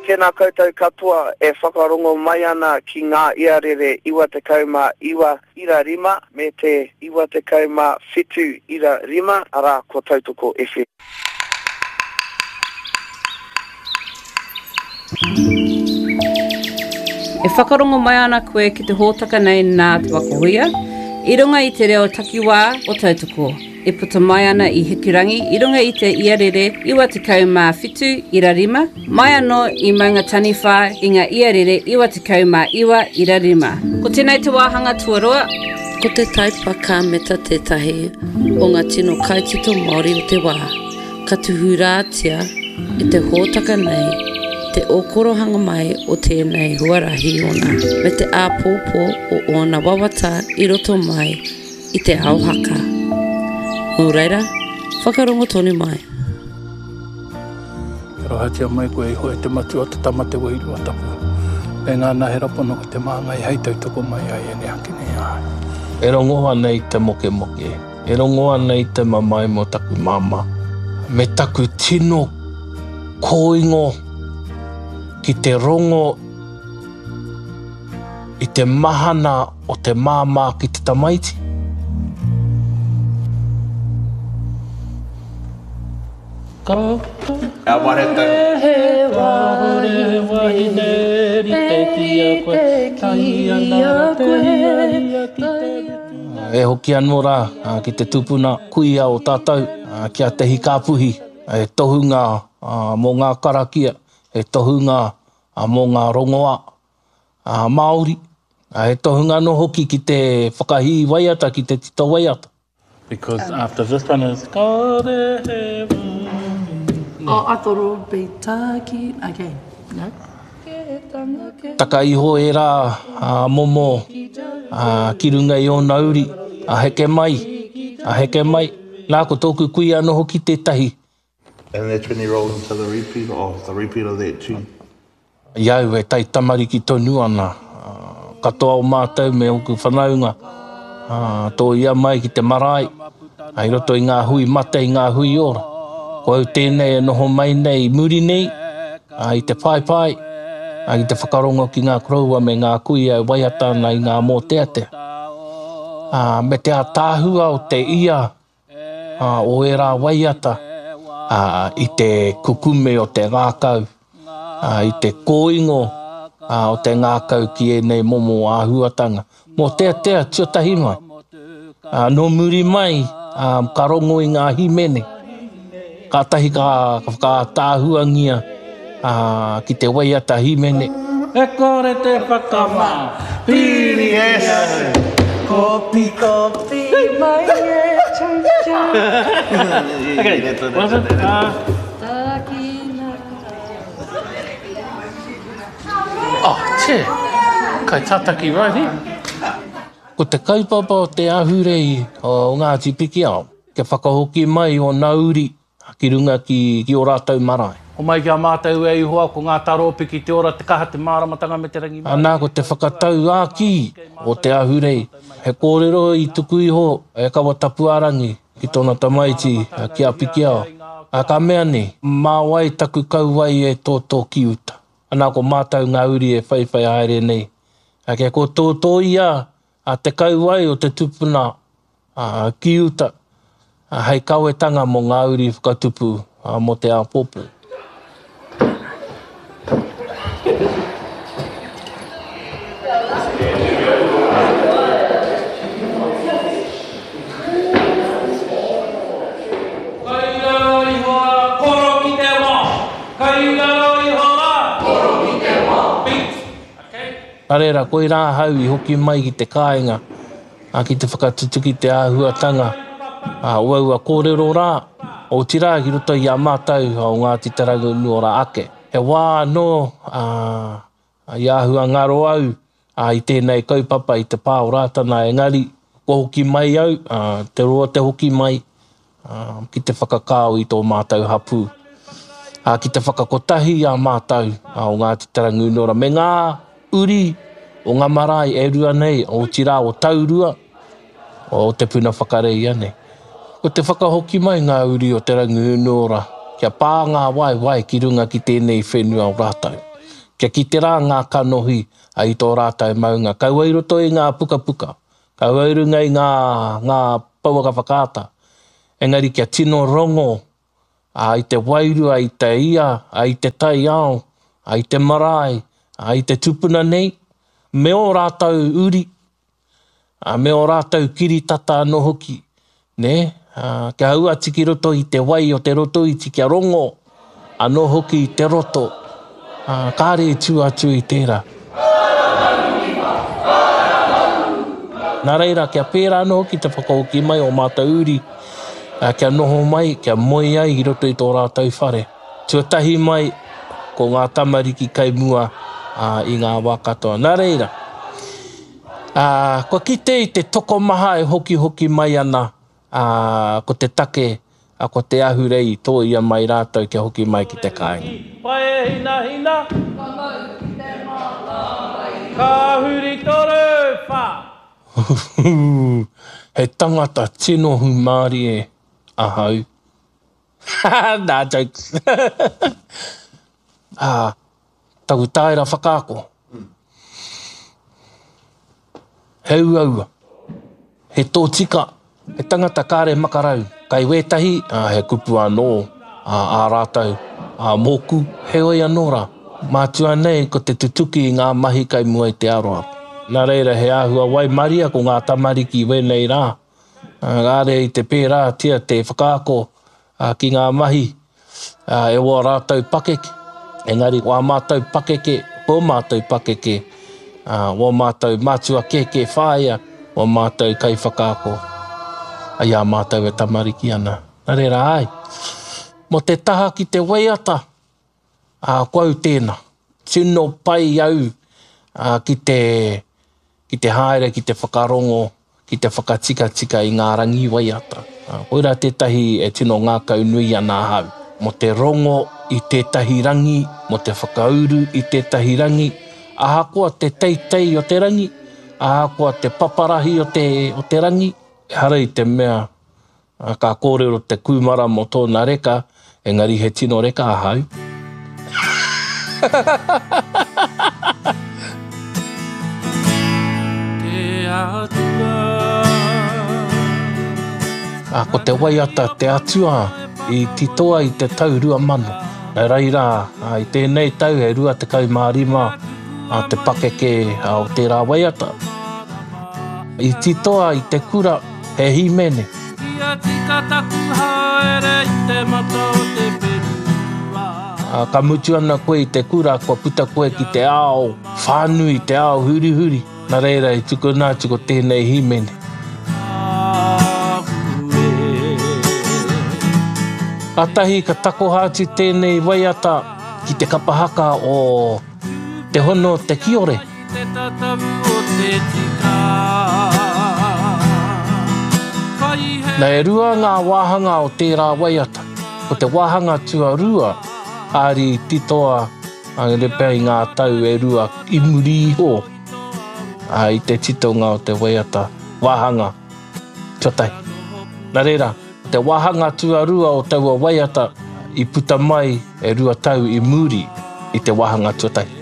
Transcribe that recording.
Tēnā koutou katoa e whakarongo mai ana ki ngā iarere 99 ira rima me te 97 ira rima, arā, ko Tautoko FM. E whakarongo mai ana koe ki te hōtaka nei nā Te Waka Huia, i runga i te reo takiwā o Tautoko. E puta mai ana i Hikurangi i runga i te iarere 97 ira rima, mai anō i Maungataniwha i ngā iarere 99 ira rima. Ko tēnei te wāhanga tuarua. Ko Te Taipa Kāmeta tētahi o ngā tino kaitito Māori o te wā. Ka tūhurātia e te hōtaka nei te ōkorohanga mai o tēnei huarahi ōna me te āpōpō o ōna wawata i roto mai i te ao haka. Nō reira, whakarongo tonu mai. Arohatia mai koe iho e te Matua, te Tama, te Wairua Tapu, me ngā nahera pono ko te māngai hei tautoko mai ai e neake nei ahau. E rongo ana i te mokemoke, e rongo ana i te mamae mō taku māmā, me taku tino kōingo ki te rongo i te mahana o te māmā ki te tamaiti. E hoki anō rā ki te tupuna kuia o tātou, ki a Te Hikāpuhi, he tohunga mō ngā karakia, he tohunga mō ngā rongoā Māori, he tohunga anō hoki ki te whakahī waiata, ki te tito waiata. Because after this one is Kore he wahine. Oh, I thought it would be taki. Okay, no. Taka iho ērā momo ki runga i ōna uri, a heke mai, a heke mai. Nā, ko tōku kuia anō hoki tētahi. And that's when you roll into the repeat of the repeat of that tune. I au e taitamariki tonu ana, katoa o mātou me ōku whanaunga, tōia mai ki te marae, i roto i ngā hui mate, i ngā hui ora. Ko au tēnei e noho mai nei i muri nei, i te paepae, ki te whakarongo ki ngā koroua me ngā kuia e waiata ana i ngā mōteatea. Me te ātaahua o te ia o ērā waiata i te kukume o te ngākau, i te kōingo o te ngākau ki ēnei momo āhuatanga. Mōteatea tuatahi mai. Nō muri mai ka rongo i ngā hīmene, kātahi ka whakaātaahuangia ki te waiata hīmene. E kore te whakamā, piri ki ahau. Kopi kopi mai e chau chau. Okay, was it? Takina. Oh, che. Kai tataki right here. Ko te kaupapa o te ahurei o Ngāti Pikiao, kia whakahoki mai ōna uri ki runga ki ō rātou marae. Homai ki a mātou e Ihowa, ko ngā taropiki, te ora, te kaha, te māramatanga me te rangimārie. Anā, ko te whakatauākī o te ahurei, he kōrero i tuku iho e Kawatapuarangi ki tōna tamaiti, ki a Pikiao, ā, ka mea nei, Mā wai taku kauae e tōtō ki uta? Anā, ko mātou ngā uri e whaiwhai haere nei, ā, kia kōtōtōia te kauae o te tupuna ki uta hei kawetanga mō ngā uri whakatupu mō te āpōpō. Kai raro iho rā, koro ki te wao. Kai raro iho rā, koro ki te wao. Beat. Okay. Nā reira, koirā ahau i hoki mai ki te kāinga ki te whakatutuki te āhuatanga o aua kōrero rā, otirā ki roto i a mātou o Ngāti Te Rangiunuora ake. He wā anō i āhua ngaro au i tēnei kaupapa i te pā o Rātana engari kua hoki mai au, te roa te hoki mai ki te whakakao i tō mātou hapū, ki te whakakotahi i a mātou o Ngāti Te Rangiunuora me ngā uri o ngā marae e rua nei, otirā o Taurua, o Te Puna Whakareia nei. Ko te whakahoki mai ngā uri o Te Rangiunuora kia pā ngā waewae ki runga ki tēnei whenua o rātou. Kia kite rā ngā kanohi i tō rātou maunga, kaua i roto i ngā pukapuka, kaua i runga i ngā, ngā pouaka whakaata, engari kia tino rongo i te wairua, i te ia, i te taiao, i te marae, i te tupuna nei, me ō rātou uri, ā, me ō rātou kiritata anō hoki, nē, ā, kia hau atu ki roto i te wai o te Rotoiti, kia rongo anō hoki i te roto, ā, kāre i tū atu i tērā. Nā reira, kia pērā anō hoki te whakahoki mai o mātou uri, ā, kia noho mai, kia moe ai i roto i tō rātou whare. Tuatahi mai, ko ngā tamariki kai mua, ā, i ngā wā katoa. Nā reira, ā, kua kite i te tokomaha e hokihoki mai ana, ā, ko te take, ā, ko te ahurei i tōia mai rātou kia hoki mai ki te kāinga. Pae hinahina. Ka mau ki te mātāwai. Ka huri toru, wha. He tangata tino hūmārie ahau. Nā, jokes. Ā, taku tāera whakaako. He uaua. He tōtika. He tangata kāre makarau. Kai wētahi, ā, he kupu anō ā, ā rātou, ā, mōku, heoi anō rā. Mātua nei ko te tutuki i ngā mahi kai mua i te aroaro. Nā reira he āhua waimaria ko ngā tamariki i wēnei rā. Kāre i te pērātia te whakaako ki ngā mahi e wō rātou pakeke, engari wā mātou pakeke, tō mātou pakeke, wō mātou mātua kēkē whāia, wō mātou kaiwhakaako i a mātou e tamariki ana. Nā reira, āe, mō te taha ki te waiata, ko au tēnā. Tino pai au ki te, ki te haere, ki te whakarongo, ki te whakatikatika i ngā rangi waiata. Koirā tētahi e tino ngākaunui ana ahau, mō te rongo i tētahi rangi, mō te whakauru i tētahi rangi, ahakoa te teitei o te rangi, ahakoa te paparahi o te, o te rangi, ehara i te mea Ka kōrero te kūmara mō tōna reka, engari he tino reka ahau. Te Atua. Ko te waiata Te Atua i titoa i te tau 2000. Nā reira, i tēnei tau he 25 te pakeke o tērā waiata. I titoa i te kura He hīmene. Kia tika taku haere i te mata o te whenua. Ka mutu ana koe i te kura, kua puta koe ki te ao whānui, te ao hurihuri. Nā reira i tukuna atu ko tēnei hīmene. Kātahi ka takoha atu tēnei waiata ki te kapa haka o Te Hono o Te Kiore. Te tatau o te tika. Na e rua ngā wāhanga o tērā waiata. Ko te wāhanga tuarua, kāri i titoa āngere pea i ngā tau e rua i muri iho i te titonga o te waiata wāhanga tuatahi. Nā reira, te wāhanga tuarua o taua waiata i puta mai e rua tau i muri i te wāhanga tuatahi.